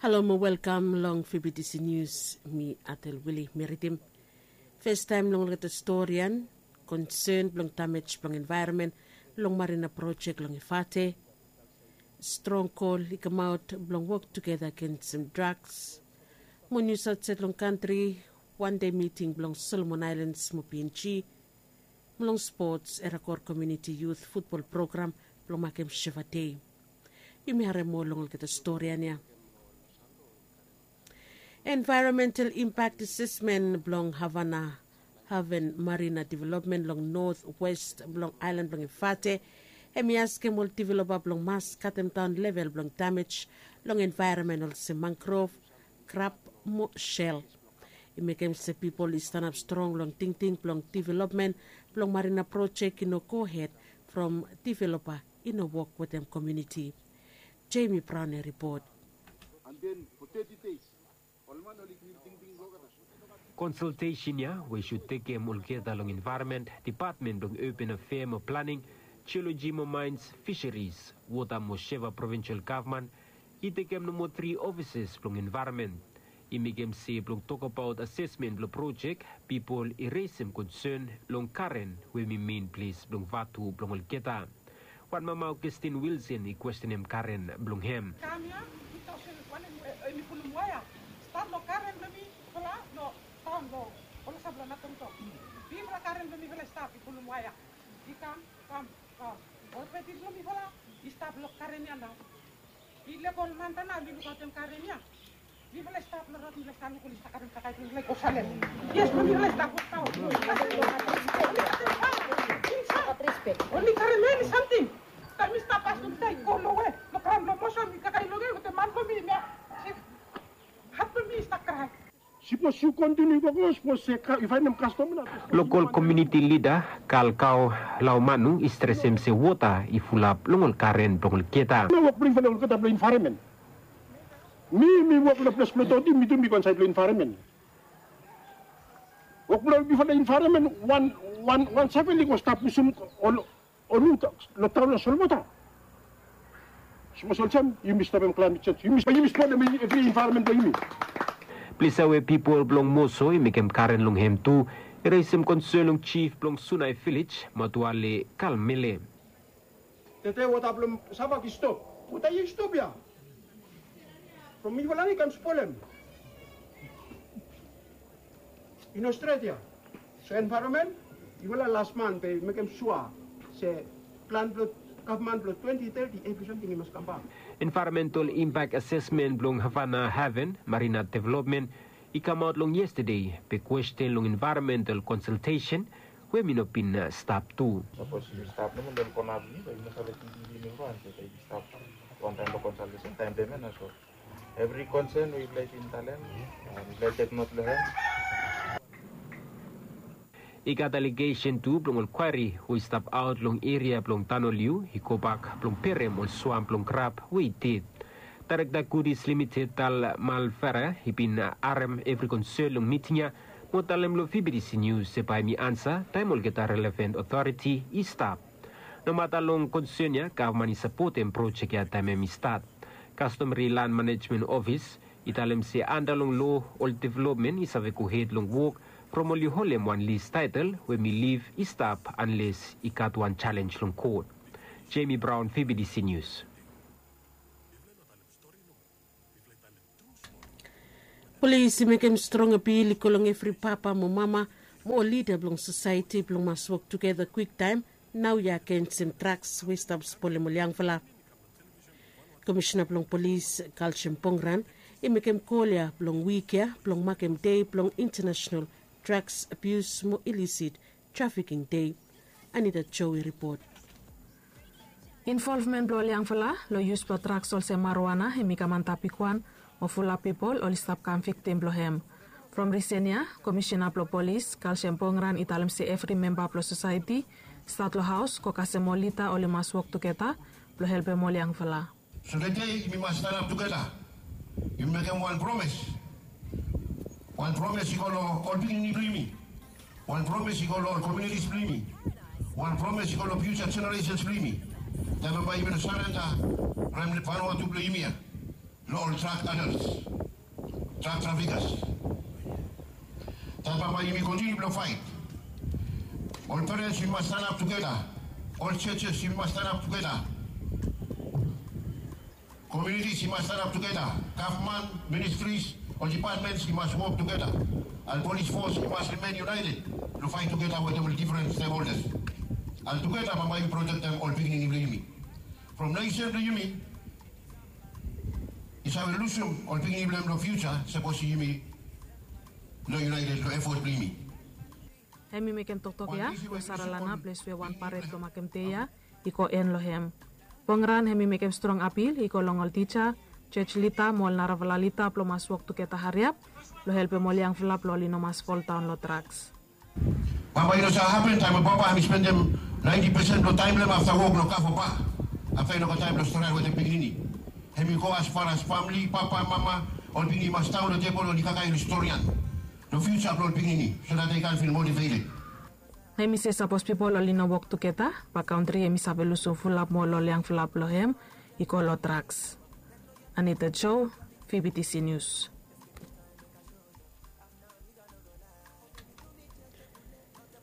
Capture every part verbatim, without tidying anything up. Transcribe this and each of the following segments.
Halo mo welkam long F B T C News. Mi Atel Wili mi ridim. Festaem long olgeta stori ya, konsen blong damej blong envaeronmen long marina projek long Efate. Strong kol i kamaot blong wok tugeta agensem draks. Mo nius aotsaed long kantri, wan dei miting blong Solomon Aelens mo P N G. Mo long spots, Erakor Komuniti Yut futbol program blong makem Sheva Dei. Yumi harem moa long olgeta stori ya. Envaeronmental Impak Asesmen blong Havana Haven Marina Developmen long notwes blong aelan blong Efate, hem i askem ol developa blong mas katemdaon level blong damej long envaeronmen olsem mangrov, krab mo sel. I mekem se pipol i stanap strong long tingting blong developmen blong marina projek i no gohed from developa i no wok wetem komuniti. Jamie Brown i ripot. Konsaltesen ya we i sud tekem olgeta long envaeronmen depatmen blong open afea mo planing, jeoloji mo maens, fiseris, wota mo Sheva provinsel gavman i tekem nomo tri ofisas blong envaeronmen. I mekem se blong tokbaot asesmen blong projek, pipol i resem konsen long karen we hem i men ples blong vatu blong olgeta. Wan mama Augustin Wilson i kwestenem karen blong hem. Kam ya, tu taosen wan hem i pulum waea. Stat long karen blong mifala long taon long olsem blong Natonto. Bigfala karen blong mifala i stap i pulum waea. I kam, kam, kam. Ol feti blong mifala i stap long karen ya nao. I lego ol man tana oli lukaotem karen ya. Mifala i stap long rod, mifala i stap long karen, kakae blong mifala i go Salem. Yes, blong mifala i stap long taon. Oli karen ya, oli samting. Taem mi stap pas long taem i go long we, long graon blong Moson, mi kakae long we wetem man blong mi, mi hat blong mi i stap krae. Sipos yu kontiniu gogo, sipos se yu faenem kastom na. Lokol komuniti lida Kalkao Laumanu i stresem se wota i fulap long ol karen blong olgeta. Mi wok blong mifala olgeta blong envaeronmen. Mi, mi wok long ples blong doti, mi tu mi go insaed long envaeronmen. Wok blong mifala envaeronmen, wan, wan, wan save oli go stap pusum ol Ol wota long taon long solwota. Sapos olsem yumi stopem klaemet senj, yumi, yumi spolem evri envaeronmen blong yumi. Ples ya we pipol blong Moso i mekem karen long hem tu, i resem konsen long jif blong Sunai Vilej, Matuale Kalmele. Tede wota blong Savak i stop. Wota ya i stop ya. From mifala i kam spolem. I no stret ya. So envaeronmen, yufala las man be mekem sua se plan blong gavman blong twenti teti evri samting i mas kambak. Envaeronmental Impak Asesmen blong Havana Haven Marina Developmen i kamaot long yestade be kwesten long envaeronmental konsaltesen we hem i no bin stap tu. Sapos yu stap nomo long kona blong yu, yu no save tingting blong yu nomo, yu stap wantaem long konsaltesen taem pema na so. Evri konsen we yufala i bin talem, yufala i tek not long hem. I gat alegesen tu blong ol kwari we i stap aot long eria blong Tanoliu i gobak blong perem ol swam blong krab we i ded. Daerekta Gudis Limited Tal Malfera i bin harem evri konsen long miting ya mo talem long V B T C News se bae hem i ansa taem olgeta relevan otoriti i stap. Nomata long konsen ya, gavman i sapotem projek ya taem hem i stat. Kastomeri Land Manejmen Ofis i talem se anda long loa ol developmen i save gohed long wok from oli holem wan lis taetel we hem i lif i stap anles i gat wan jalenj long kot. Jamie Brown, V B T C News. Polis i mekem strong apil i go long evri papa mo mama mo ol lida blong sosaeti blong mas wok tugeta kwiktaem naoia agensem draks we i stap spolem ol yangfala. Komisina blong Polis Kalsem Pongran i mekem kol ya blong wik ya blong makem dei blong International Drugs Abuse mo Illicit Trafficking Dei. Anita Joe i ripot. Involvmen blong ol yangfala long yus blong draks olsem marijuana hem i kam antap bigwan mo fulap pipol oli stap kam viktim blong hem. From risen ya, Komisina blong Polis Kalsem Pongran i talem se evri memba blong sosaeti, stat long haos go kasem ol lida, oli mas wok tugeta blong helpem ol yangfala. So tede yumi mas stanap tugeta. Yumi mekem wan promes. Wan promes i go long ol pikinini blong yumi. Wan promes i go long ol komunitis blong yumi. Wan promes i go long fiuja jeneresen blong yumi. Taem bae yumi no sarenda from Vanuatu blong yumi ya. Long ol drug addicts, drug traffickers. Tata, bambae yumi kontiniu blong faet. Ol perens yumi mas stanap tugeta. Ol churches yumi mas stanap tugeta. Communities yumi mas stanap tugeta. Gavman, ministries, ol departments yumi mas wok tugeta. An police force yumi mas rimen united blong faet tugeta wetem ol difren stakeholders. An tugeta bambae yumi protektem ol pikinini blong yumi. From nesen blong yumi i save lusum ol pikinini blong hem long fiusa sapos yumi no united long efot blong yumi. Hem i mekem toktok ya long Saralana, ples we wan paret blong makem dei ya i go en long hem. Bongran hem i mekem strong apil i go long ol tija, jos lida mo ol narafala lida blong mas wok tugeta hariap blong helpem ol yangfala blong oli no mas foldaon long draks. Papa i no save hapen taem we papa hem i spendem naenti pesen blong taem blong hem afta wok long kava pa. Afta i no gat taem blong stret wetem pikinini. Hem i go as far as famili, papa, mama, ol pikinini i mas daon long tebol oli kakae long storian long fiusa blong ol pikinini, so dat dei kan fil motiveted. Hem i se sapos pipol oli no wok tugeta, ba kantri hem i save lusum fulap mo ol yangfala blong hem i go long draks. Anita Jo, V B T C News.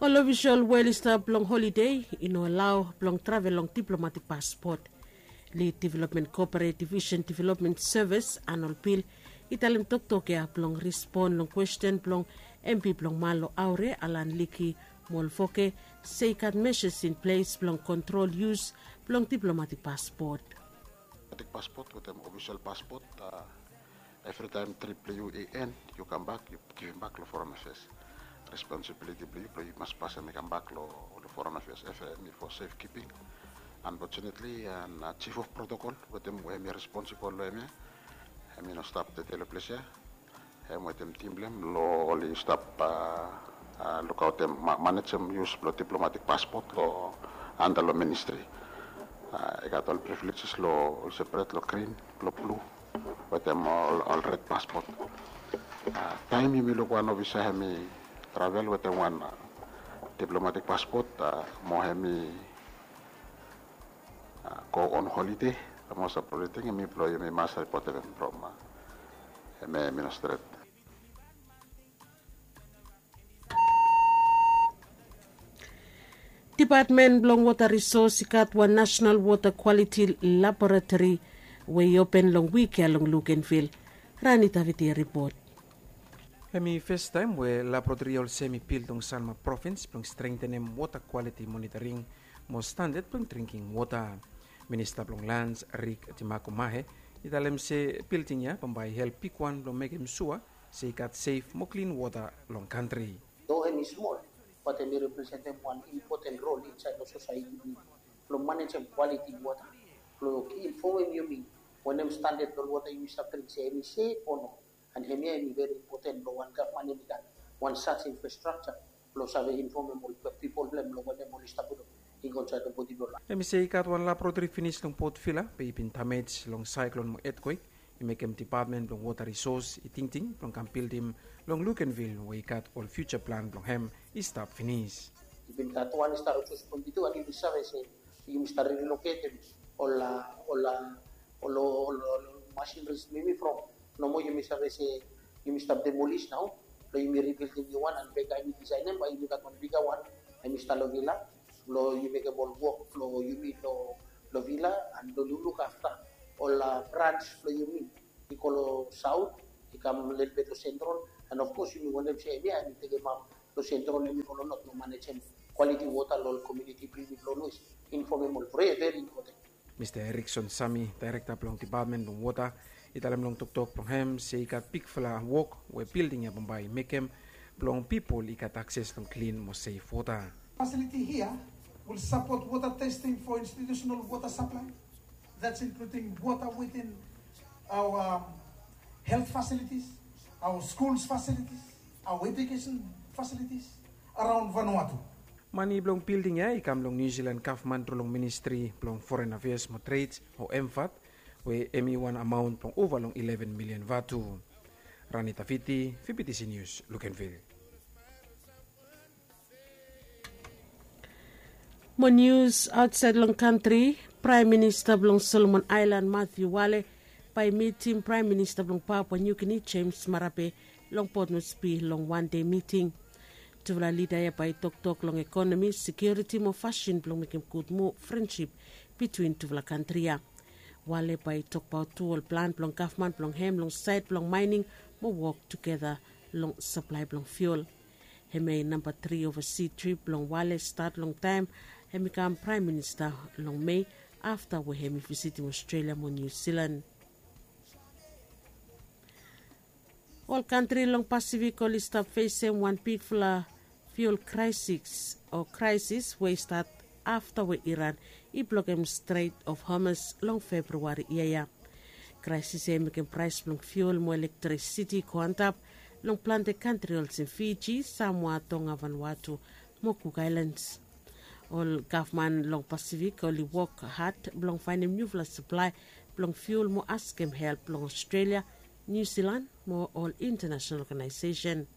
Ol ofisol we oli stap long holide i no alao blong travel long diplomatik paspot. Lid Development Kooperative Vision Development Service Anol Bil i talem toktok ya blong respon long kwesten blong M P blong Malo Aure, Alan Liki Molfoke, se i gat measures in ples blong kontrol yus blong diplomatik paspot. Diplomatik paspot wetem ofisol paspot, a, evritaem trip blong yu i en, yu kambak, yu givim bak long Foreign Affairs. Responsibiliti blong yu blong yu mas pasem i kambak long Foreign Affairs, F A M, i for safekeeping. Unfortunately, an Chief of Protocol wetem we hem i responsibol long hem ya, hem i no stap tede long ples ya. Hem wetem tim blong hem long oli stap lukaotem, manejem yus blong diplomatik paspot long anda long ministri. I gat ol privileges long ol seperet long grin, long blu, wetem ol red paspot. Taem yumi luk wan ofisa hem i travel wetem wan diplomatik paspot mo hem i go on holide, the most appropriate thing hem i blong yumi mas ripotem hem from hem i no stret. Dipatmen blong Wota Risos i gat wan Nasenal Wota Kwaliti Laboratori we i open long wik ya long Lukenvil. Rani Taviti ripot. Hem i fastaem we laboratori ya olsem i bil long Sanma provins blong strengtenem wota kwaliti monitoring mo standad blong dringking wota. Minista blong Lans, Rik Timakumahe, i talem se bilding ya bambae i help bigwan blong mekem sua se i gat sef mo klin wota long kantri. Do hem i smol, bat hem i representem wan impoten rol insaed long sosaeti blong manejem kwaliti wota, blong infomem yumi wanem standad blong wota yumi stap dring, se hem i sef o no. An hemia hem i veri impoten blong wan gavman hem i gat wan sas infrastrakja blong save infomem ol pipol blong hem long wanem oli stap widaot i go insaed long bodi blong laef. Hem i se i gat wan laboratori finis long Port Vila be i bin damej long saeklon mo etkwek. I mekem Dipatmen blong Wota Risos i tingting blong kam bildim long Lukenvil we i gat ol fiuja plan blong hem i stap finis. I bin gat wan i stap long Sos Pwenti tu, an yumi save se yumi stap riloketem ol, ol, ol, ol masinris blong yumi from nomo yumi save se yumi stap demolis nao, blong yumi ribildim niu wan, an beka yumi disaenem bae yumi gat wan biga wan, hem i stap long Vila, blong yumi mekem ol wok blong yumi long Vila, an blong luk afta ol brans blong yumi i go long saot, i kam lelebet long sentrol, an of kos yumi wantem se hemia hem i tekemap long sentrol, hem i go long not blong manejem kwaliti wota long ol komuniti blong yumi blong Lues, infomem ol veri, veri impoten. Mista Erikson Sami, daerekta blong Dipatmen blong Wota, i talem long toktok blong hem se i gat bigfala wok we bilding ya bambae i mekem blong pipol i gat akses long klin mo sef wota. Facility here will support water testing for institutional water supply. That's including water within our, um, health facilities, our schools facilities, our education facilities around Vanuatu. Mane blong bilding ya i kam long Niu Silan gavman tru long Ministri blong Foren Afeas mo Tred o MFAT, we hem i wan amaon blong ova long ileven milian vatu. Rani Taviti, V B T C News, Lukenvil. Mo nius aotsaed long kantri, Praem Minista blong Solomon Aelan Matthew Wale Bae i mitim Praem Minista blong Papua Niu Gini, James Marape, long Port Moresby long wan dei miting. Tufala lida ya bae i toktok long ekonomi, sekiuriti mo fasin blong mekem gud muv, frensip bitwin tufala kantri ya. Wale bae i tokbaot tu ol plan blong gavman blong hem long saed blong maening mo wok tugeta long saplae blong fiul. Hemia i namba tri ovasi trip blong Wale stat long taem hem i kam Praem Minista long Mei, afta we hem i visitim Ostrelia mo Niu Silan. Ol kantri long Pasifik oli stap fesem wan bigfala fiul kraesis o kraesis we i stat afta we Iran i blokem Strait of Hormuz long Februari yia ya. Kraesis ya i mekem praes blong fiul mo elektrisiti i go antap long plante kantri olsem Fiji, Samoa, Tonga, Vanuatu mo Cook Islands. Ol gavman long Pasifik oli wok had blong faenem niufala saplae blong fiul mo askem help long Ostrelia, Niu Silan mo ol intanasenal oganaesesen.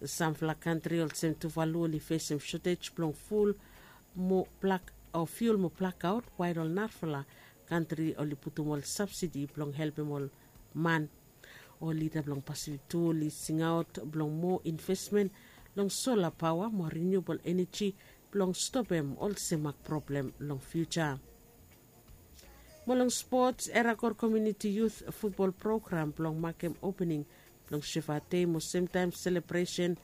Samfala kantri olsem Tuvalu oli fesem sotej blong ful mo blak o fiul mo blakaot, wael ol narafala kantri oli putum ol sabsidi blong helpem ol man. Ol lida blong Pasifik tu oli singaot blong moa invesmen long sola paoa mo riniubol eneji blong stopem ol semak problem long fiuja. Mo long spots, Erakor Komuniti Yut Futbol Program blong makem opening blong Sheva Dei mo semtaem selebresen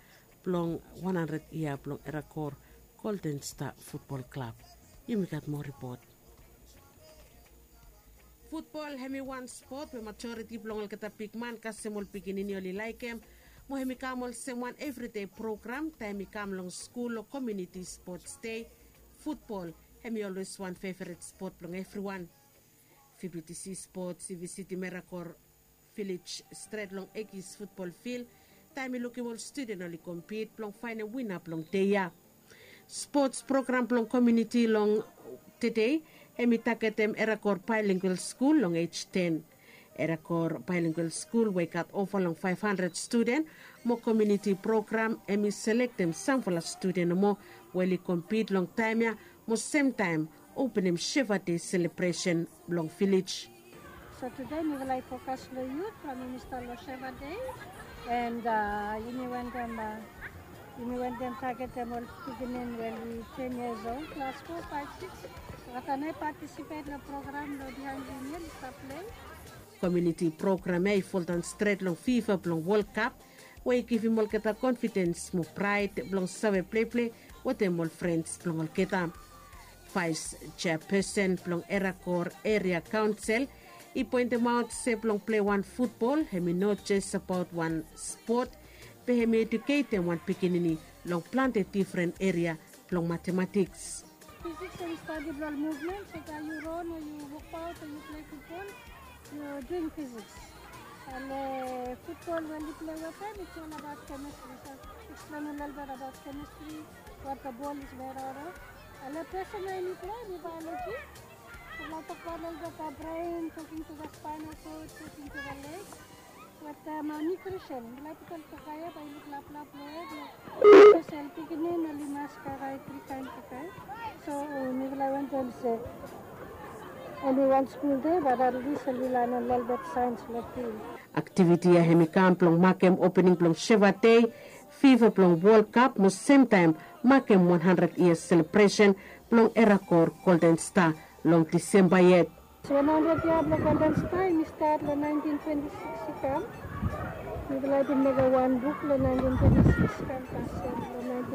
blong wan handred yia blong Erakor Golden Star Futbol Klab. Yumi gat moa ripot. Futbol hem i wan spot we majoriti blong olgeta bigman kasem ol pikinini oli laekem, mo hem i kam olsem wan evridei program taem i kam long skul o komuniti spots dei. Futbol hem i olwes wan feveret spot blong evriwan. Fibitisi Spots i visitim Erakor Vilej stret long Ekis futbol fil taem i lukim ol studen oli kompit blong faenem wina blong dei ya. Spots program blong komuniti long tedei hem i tagetem Erakor Baelingual Skul long ej ten. Erakor Baelingual Skul we i gat ova long faef handred studen mo komuniti program hem i selektem samfala studen nomo we oli kompit long taem ya mo semtaem openem Sheva Dei selebresen blong vilej. So tede mifala i fokas long yut from minista long Sheva Dei, and yumi wantem yumi wantem tagetem ol pikinini we oli ten years old, klas fo, faef, sikis. Olgeta nao i patisipet long program long bihaen yumi oli stap plei. Komuniti program ya i foldaon stret long fifa blong Wol Kap we i givim olgeta konfidens mo praed blong save pleplei wetem ol frens blong olgeta. Vaes jeapesen blong Erakor Eria Kaonsel i poentemaot se blong plei wan futbol hem i no jes abaot wan spot, be hem i eduketem wan pikinini long plante difren eria blong matematiks. Fiziks hem i stadi blong ol muvmen, so taem yu ron o yu wokbaot o yu plei futbol, yu duing fiziks. Ale futbol we oli plei wetem, it's all about chemistry. So eksplaen a lelebet abaot chemistry, what the ball is made out of. Ale pesen we yumi plei hem i biology. Mifala tokbaot a lelebet abaot brain, talking to the spinal cord, talking to the leg. Wetem nutrition, mifala putum kakae ya bae i luk laplap long hed. Spesel pikinini oli mas kakae tri kaen kakae. So mifala wantem se oli wan skul dei, but at least oli lanem lelebet saens long fil. Aktiviti ya hem i kam blong makem opening blong Sheva Dei, fifa blong Wol Kap mo semtaem makem wan handred yia selebresen blong Erakor Golden Star long Disemba yet. Wan handred yia blong Golden Star hem i stat long naentin twenti sikis i kam. Mifala i bin mekem wan buk long naentin twenti sikis i kam kasem long naentin